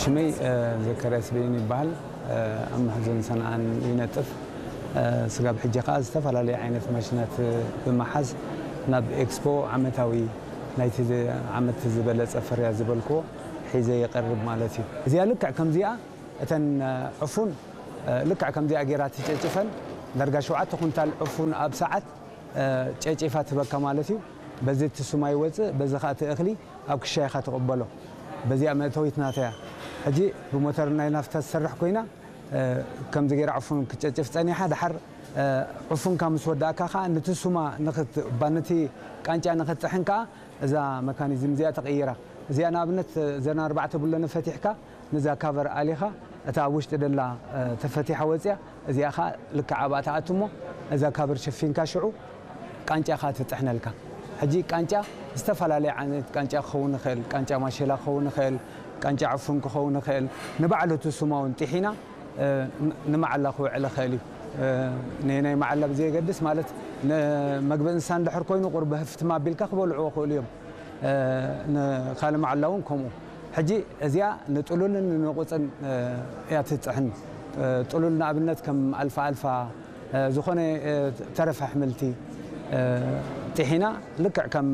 ሽመይ ዘከርያስ በይን ይበሃል። ኣብ መሕዘን ሰንዓን ይነጥፍ። ስጋብ ሕጂ ከኣ ዝተፈላለዩ ዓይነት ማሽናት ብምሓዝ ናብ ኤክስፖ ዓመታዊ ናይቲ ዓመት ዝበለጸ ፍርያ ዝበልክዎ ሒዘ ይቐርብ ማለት እዩ። እዚኣ ልክዕ ከምዚኣ እተን ዕፉን ልክዕ ከምዚኣ ገይራ ትጨጭፈን ዳርጋ ሸውዓተ ኩንታል ዕፉን ኣብ ሰዓት ጨጪፋ ትበካ ማለት እዩ። በዚ እቲ ሱማ ይወፅእ፣ በዚ ከዓ እቲ እኽሊ ኣብ ክሻ ኢኻ ትቕበሎ። በዚኣ መእተዊት ናታ እያ። ሕጂ ብሞተር ናይ ናፍታ ትሰርሕ ኮይና ከምዚ ገይራ ዕፉን ክትጨጭፍ ፀኒሓ፣ ድሓር ዕፉንካ ምስ ወዳእካ ከዓ ነቲ ሱማ ንኽት- ባ ነቲ ቃንጫ ንኽትጥሕን ከዓ እዛ መካኒዝም እዚኣ ተቐይራ። እዚኣ ንኣብነት እዘን ኣርባዕተ ብሎነ ፈቲሕካ ነዛ ካቨር ኣሊኻ እታ ኣብ ውሽጢ ደላ ተፈቲሓ ወፅያ፣ እዚኣ ከዓ ልክዕ ኣብኣ ትኣቱ እሞ እዛ ካቨር ሸፊንካ ሽዑ ቃንጫኻ ትጥሕነልካ። ሕጂ ቃንጫ ዝተፈላለየ ዓይነት ቃንጫ ክኸውን ይኽእል፣ ቃንጫ ማሸላ ክኸውን ይኽእል፣ ቃንጫ ዕፉን ክኸውን ይኽእል። ንባዕሉ እቲ ሱማ እውን ጢሒና ንመዓላ ክውዕል ይኽእል እዩ። ንናይ መዓላ ብዘየገድስ ማለት ንመግቢ እንስሳ እንድሕር ኮይኑ ቁርቢ ህፍትም ኣቢልካ ክበልዕዎ ይኽእሉ እዮም። ንካልእ መዓላ እውን ከምኡ። ሕጂ እዚኣ ንጥሉልን ንንቑፅን እያ ትጥሕን። ጥሉል ንኣብነት ከም ኣልፋ ኣልፋ ዝኾነ ተረፈ ኣሕምልቲ ጢሒና ልክዕ ከም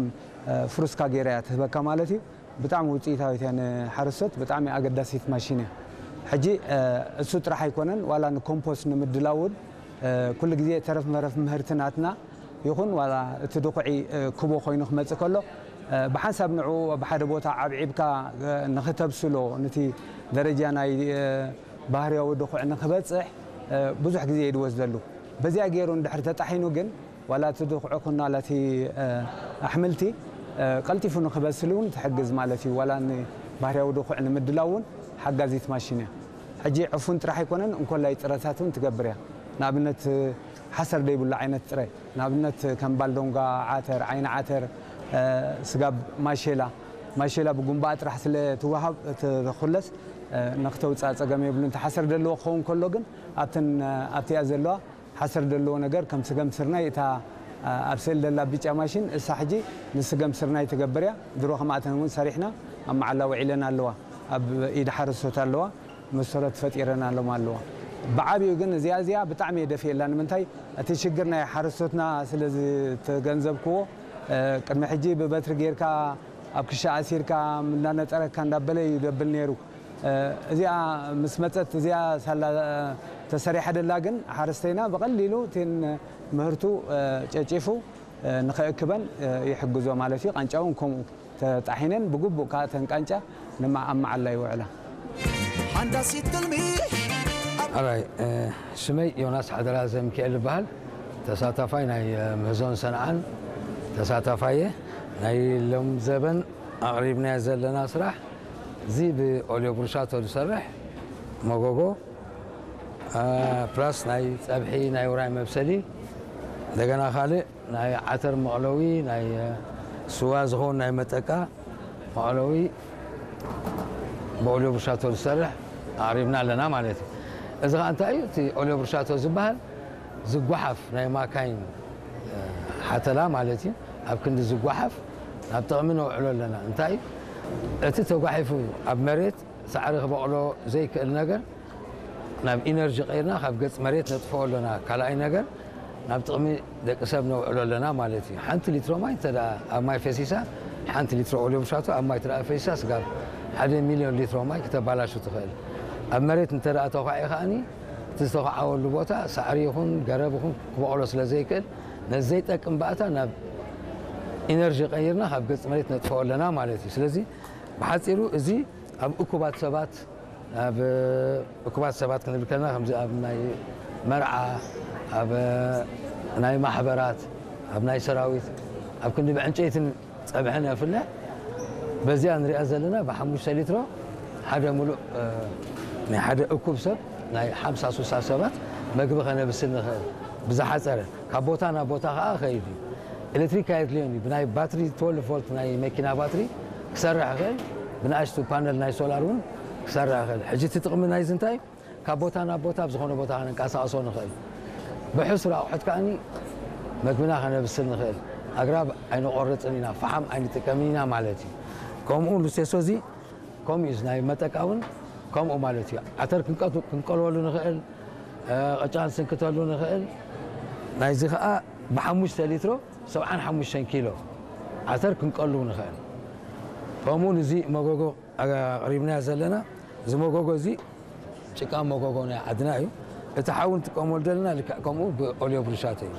ፍሩስካ ገይራ እያ ትህበካ ማለት እዩ። ብጣዕሚ ውፅኢታዊት እያ፣ ንሓረስቶት ብጣዕሚ ኣገዳሲት ማሽን እያ። ሕጂ እሱ ጥራሕ ኣይኮነን፣ ዋላ ንኮምፖስት ንምድላው እውን ኩሉ ግዜ ተረፍ መረፍ ምህርቲ ናትና ይኹን ዋላ እቲ ድኹዒ ክቦ ኮይኑ ክመፅእ ከሎ ብሓንሳብ ንዕኡ ኣብ ሓደ ቦታ ዓብዒብካ ንክተብስሎ፣ ነቲ ደረጃ ናይ ባህርያዊ ድኹዒ ንክበፅሕ ብዙሕ ግዜ እዩ ዝወስደሉ። በዚኣ ገይሩ እንድሕር ተጣሒኑ ግን ዋላ እቲ ድኹዒ ኩን ዋላ እቲ ኣሕምልቲ ቀልጢፉ ንክበስል እውን ትሕግዝ ማለት እዩ። ዋላ ንባህርያዊ ድኹዒ ንምድላው እውን ሓጋዚት ማሽን እያ። ሕጂ ዕፉን ጥራሕ ኣይኮነን፣ እንኮላይ ጥረታት እውን ትገብር እያ። ንኣብነት ሓሰር ዘይብሉ ዓይነት ጥረ፣ ንኣብነት ከም ባልዶንጓ፣ ዓተር፣ ዓይኒ ዓተር፣ ስጋብ ማሼላ፣ ማሼላ ብጉንባኣ ጥራሕ ስለ ትወሃብ ትኹለስ ንክተውፅኣ ፀገም የብሉን። እቲ ሓሰር ዘለዎ ክኸውን ከሎ ግን ኣብተን ኣብቲኣ ዘለዋ ሓሰር ዘለዎ ነገር ከም ስገም ስርናይ እታ ኣብ ስእሊ ዘላ ብጫ ማሽን እሳ ሕጂ ንስገም ስርናይ ትገብር እያ። ድሮ ከምኣተን እውን ሰሪሕና ኣብ መዓላ ውዒለን ኣለዋ፣ ኣብ ኢድ ሓረስቶት ኣለዋ። መሰረት ፈጢረናሎም ኣለዋ። ብዓብዩ ግን እዚኣ እዚኣ ብጣዕሚ እየ ደፊኤላ። ንምንታይ እቲ ሽግር ናይ ሓረስቶትና ስለ ዝተገንዘብክዎ ቅድሚ ሕጂ ብበትሪ ጌርካ ኣብ ክሻ ኣሲርካ እንዳነጠረካ እንዳበለ እዩ ደብል ነይሩ። እዚኣ ምስ መፀት እዚኣ ሳላ ተሰሪሓ ደላ ግን ሓረስተይና ብቐሊሉ እቲን ምህርቱ ጨጪፉ ንኸእክበን ይሕግዞ ማለት እዩ። ቃንጫ እውን ከምኡ ተጣሒነን ብግቡእ ከዓ እተን ቃንጫ ንማ ኣብ መዓላ ይውዕላ። ሓንዳሲት ትልሚ ኣራይ ሽመይ ዮናስ ሓደራ ዘሚካኤል ይበሃል። ተሳታፋይ ናይ ምህዞን ሰንዓን ተሳታፋየ። ናይ ሎም ዘበን ኣቕሪብናዮ ዘለና ስራሕ እዚ ብኦልዮ ብሩሻቶ ዝሰርሕ መጎጎ ፕላስ ናይ ፀብሒ ናይ ውራይ መብሰሊ እንደገና ካልእ ናይ ዓተር መቕለዊ ናይ ስዋ ዝኸውን ናይ መጠቃ መቕለዊ ብኦልዮ ብሩሻቶ ዝሰርሕ ኣቕሪብና ኣለና ማለት እዩ። እዚ ከዓ እንታይ እዩ? እቲ ኦልዮ ብሩሻቶ ዝበሃል ዝጓሓፍ ናይ ማካይን ሓተላ ማለት እዩ። ኣብ ክንዲ ዝጓሓፍ ናብ ጥቕሚ ነውዕሎ ኣለና። እንታይ እዩ? እቲ ተጓሒፉ ኣብ መሬት ሳዕሪ ክበቕሎ ዘይክእል ነገር ናብ ኢነርጂ ቀይርና ካብ ገጽ መሬት ነጥፍኦ ኣለና። ካልኣይ ነገር ናብ ጥቕሚ ደቂ ሰብ ነውዕሎ ኣለና ማለት እዩ። ሓንቲ ሊትሮ ማይ እንተ ደኣ ኣብ ማይ ፈሲሳ፣ ሓንቲ ሊትሮ ኦልዮ ብሻቶ ኣብ ማይ እንተ ደኣ ፈሲሳ ስጋብ ሓደ ሚልዮን ሊትሮ ማይ ክተባላሹ ትኽእል። ኣብ መሬት እንተ ደኣ ተዃዒ ከኣኒ እቲ ዝተዃዓወሉ ቦታ ሳዕሪ ይኹን ገረብ ይኹን ክበቕሎ ስለ ዘይክእል ነዚ ዘይጠቅም ባእታ ናብ ኢነርጂ ቀይርና ካብ ገጽ መሬት ነጥፍኦ ኣለና ማለት እዩ። ስለዚ ብሓጺሩ እዚ ኣብ እኩባት ሰባት ኣብ እኩባት ሰባት ክንብል ከለና ከምዚ ኣብ ናይ መርዓ ኣብ ናይ ማሕበራት ኣብ ናይ ሰራዊት ኣብ ክንዲ ብዕንጨይትን ጸብሕን የፍልሕ በዚኣ ንሪኣ ዘለና ብሓሙሽተ ሊትሮ ሓደ ሙሉእ ናይ ሓደ እኩብ ሰብ ናይ ሓምሳ ሱሳ ሰባት መግቢ ከነብስል ንኽእል ብዝሓጸረ ካብ ቦታ ናብ ቦታ ከኣ ኸይድ እዩ። ኤሌክትሪክ ኣየድልዮን እዩ። ብናይ ባትሪ ትወልቭ ቮልት ናይ መኪና ባትሪ ክሰርሕ ይኽእል። ብንኣሽቱ ፓነል ናይ ሶላር እውን ክሰርሕ ይኽእል። ሕጂ እቲ ጥቕሚ ናይዚ እንታይ እዩ? ካብ ቦታ ናብ ቦታ ኣብ ዝኾነ ቦታ ከነንቀሳቕሶ ንኽእል። ብሕሱር ኣቑሑት ከኣኒ መግብና ከነብስል ንኽእል። ኣግራብ ኣይንቖርፅን ኢና፣ ፈሓም ኣይንጥቀምን ኢና ማለት እዩ። ከምኡ ሉሴሶ እዚ ከምኡ እዩ ናይ መጠቃ እውን ከምኡ ማለት እዩ። ዓተር ክንቀቱ- ክንቀልወሉ ንኽእል፣ እ፣ ቅጫ ንስንክተሉ ንኽእል። ናይዚ ከዓ ብሓሙሽተ ሊትሮ ሰብዓን ሓሙሽተን ኪሎ ዓተር ክንቀሉ ንኽእል። ከምኡ እዚ መጎጎ ኣቕሪብናዮ ዘለና፣ እዚ መጎጎ እዚ ጭቃ መጎጎ ናይ ዓድና እዩ። እቲ ሓዊ ንጥቀመሉ ዘለና ልክዕ ከምኡ ብኦልዮ ብሩሻቶ እዩ።